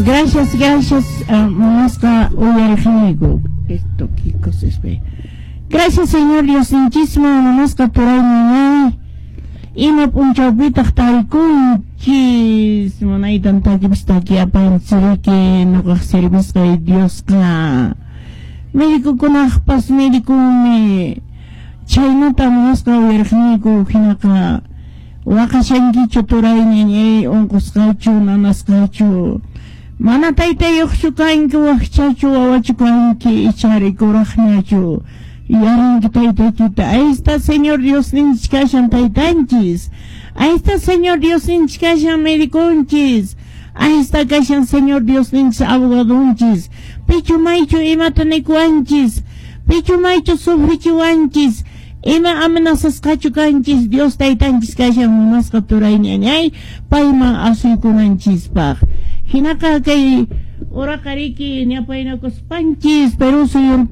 Gracias, gracias, munasqa uyariqniyku. Esto, qué cosa es. Gracias, Señor Diosninchisman, munasqa turay ñañay. Ima p'unchawpitaq tarikunchis, munaytan takipas takiapanchiriki nuqaq servisqay Diosqa. Médicokunaqpas médicomi, chhaynata munasqa uyariqniyku. Hinaqa waqashankichu, turay ñañay, unqusqachu, nanasqachu, mana taytayuqchu kanki, wakchachu, wawachu kanki, ichari kuraqñachu, yaranki taytaykita. Ahí está Señor Diosninchis kashan taytanchis. Ahí está Señor Diosninchis kashan médiconchis. Ahí está kashan Señor Diosninchis abogadonchis. Pichu maychu imata nikuwanchis, pichu maychu sufrichiwanchis, ima amenazasqachu kanchis, Dios taytanchis kashan, munasqa turay ñañay, payman asuykunanchispaq. Hinaqa kay uraqariki ñapaynakuspanchis Perú suyunta.